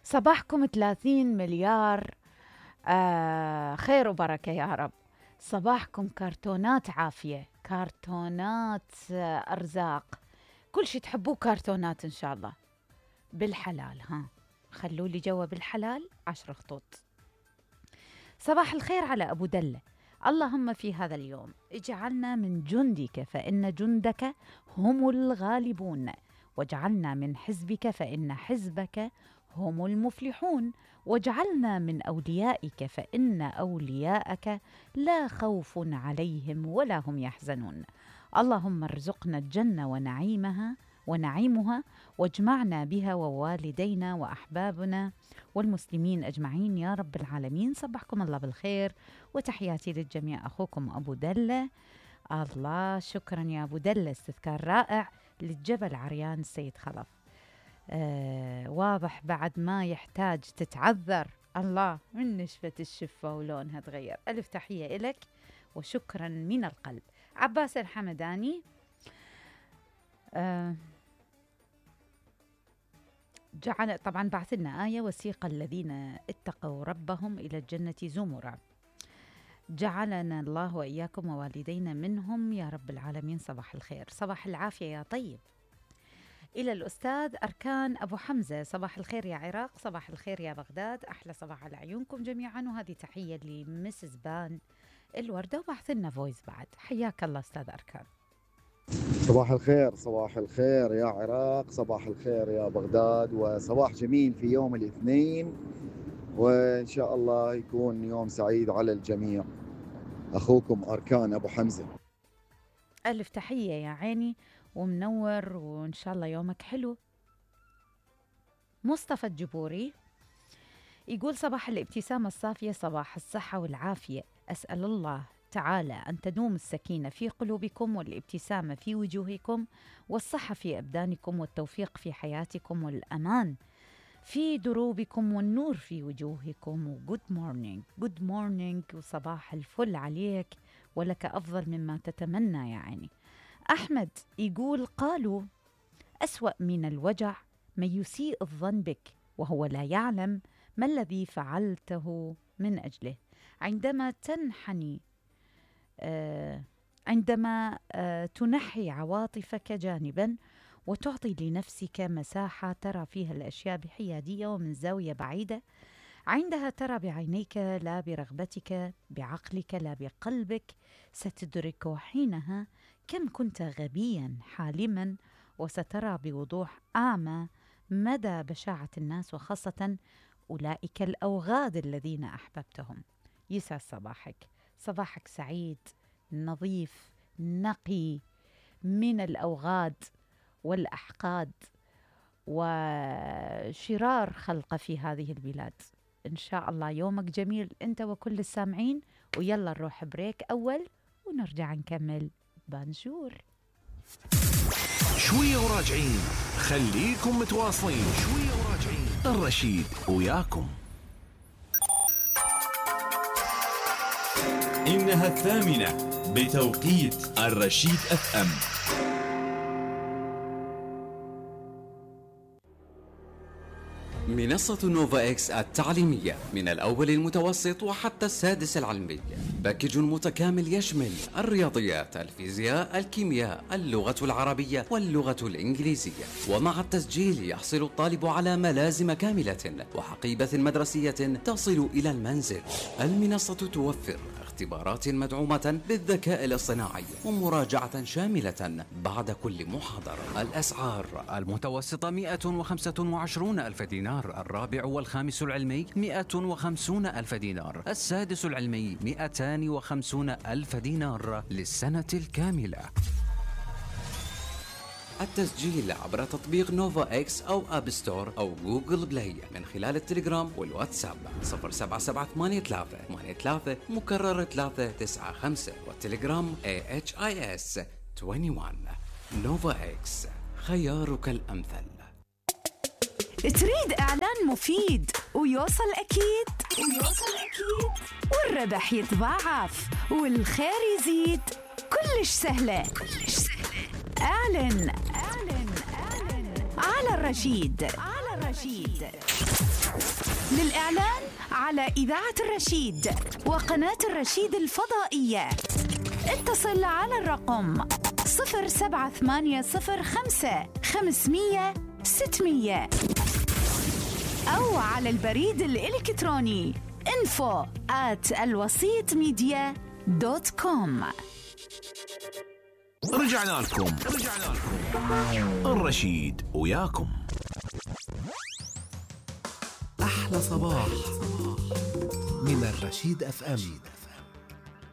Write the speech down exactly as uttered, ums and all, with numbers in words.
صباحكم ثلاثين مليار آه خير وبركة يا رب. صباحكم كرتونات عافية، كرتونات آه أرزاق، كل شي تحبوه كرتونات إن شاء الله بالحلال. ها خلوا لي جوا بالحلال عشر خطوط. صباح الخير على أبو دلة. اللهم في هذا اليوم اجعلنا من جندك فإن جندك هم الغالبون، واجعلنا من حزبك فإن حزبك هم المفلحون، واجعلنا من أوليائك فإن أولياءك لا خوف عليهم ولا هم يحزنون. اللهم ارزقنا الجنة ونعيمها ونعيمها، واجمعنا بها ووالدينا وأحبابنا والمسلمين أجمعين يا رب العالمين. صبحكم الله بالخير وتحياتي للجميع. أخوكم أبو دلة. الله شكرا يا أبو دلة، استذكار رائع للجبل عريان السيد خلف. آه واضح بعد ما يحتاج تتعذر. الله من نشفة الشفة ولونها تغير. ألف تحية إلك وشكرا من القلب. عباس الحمداني. آه جعل طبعا بعث لنا آية: وسيق الذين اتقوا ربهم إلى الجنة زمرا. جعلنا الله وإياكم ووالدينا منهم يا رب العالمين. صباح الخير، صباح العافية يا طيب. إلى الأستاذ أركان أبو حمزة: صباح الخير يا عراق، صباح الخير يا بغداد، أحلى صباح على عيونكم جميعا. وهذه تحية لمسز بان الوردة، وبعث لنا فويس بعد. حياك الله أستاذ أركان. صباح الخير، صباح الخير يا عراق، صباح الخير يا بغداد، وصباح جميل في يوم الاثنين، وإن شاء الله يكون يوم سعيد على الجميع. أخوكم أركان أبو حمزة. ألف تحية يا عيني ومنور، وإن شاء الله يومك حلو. مصطفى الجبوري يقول: صباح الابتسامة الصافية، صباح الصحة والعافية. أسأل الله تعالى أن تدوم السكينة في قلوبكم، والابتسامة في وجوهكم، والصحة في أبدانكم، والتوفيق في حياتكم، والأمان في دروبكم، والنور في وجوهكم. وجود مورنينج جود مورنينج وصباح الفل عليك، ولك أفضل مما تتمنى يا عيني. أحمد يقول: قالوا أسوأ من الوجع من يسيء الظن بك وهو لا يعلم ما الذي فعلته من أجله. عندما تنحني آه عندما آه تنحي عواطفك جانبا وتعطي لنفسك مساحة ترى فيها الأشياء بحيادية ومن زاوية بعيدة، عندها ترى بعينيك لا برغبتك، بعقلك لا بقلبك، ستدرك حينها كم كنت غبيا حالما، وسترى بوضوح أعمى مدى بشاعة الناس، وخاصة أولئك الأوغاد الذين أحببتهم. يسعد صباحك، صباحك سعيد نظيف نقي من الأوغاد والأحقاد وشرار خلق في هذه البلاد. إن شاء الله يومك جميل أنت وكل السامعين. ويلا نروح بريك أول ونرجع نكمل. بانجور. شوية وراجعين، خليكم متواصلين. شوية وراجعين، الرشيد وياكم. إنها الثامنة بتوقيت الرشيد أف أم. منصة نوفا إكس التعليمية من الأول المتوسط وحتى السادس العلمي، باكج متكامل يشمل الرياضيات، الفيزياء، الكيمياء، اللغة العربية واللغة الإنجليزية. ومع التسجيل يحصل الطالب على ملازم كاملة وحقيبة مدرسية تصل إلى المنزل. المنصة توفر اختبارات مدعومة بالذكاء الاصطناعي ومراجعة شاملة بعد كل محاضرة. الأسعار: المتوسطة مئة وخمسة وعشرون ألف دينار، الرابع والخامس العلمي مئة وخمسون ألف دينار، السادس العلمي مئتان وخمسون ألف دينار للسنة الكاملة. التسجيل عبر تطبيق نوفا إكس أو أب ستور أو جوجل بلاي من خلال التليجرام والواتساب صفر سبعة سبعة ثمانية ثلاثة ثمانية ثلاثة مكرر ثلاثة تسعة خمسة، والتليجرام إيه إتش آي إس واحد وعشرين. نوفا إكس، خيارك الأمثل. تريد إعلان مفيد ويوصل أكيد ويوصل أكيد والربح يتضاعف والخير يزيد؟ كلش سهلة كلش سهلة. اعلن اعلن اعلن على الرشيد. على الرشيد للإعلان على إذاعة الرشيد وقناة الرشيد الفضائية اتصل على الرقم صفر سبعة ثمانية صفر خمسة خمسمية ستمية أو على البريد الإلكتروني info at الوسيط ميديا دوت كوم. رجعنا لكم رجعنا لكم الرشيد وياكم. أحلى صباح من الرشيد أف أم.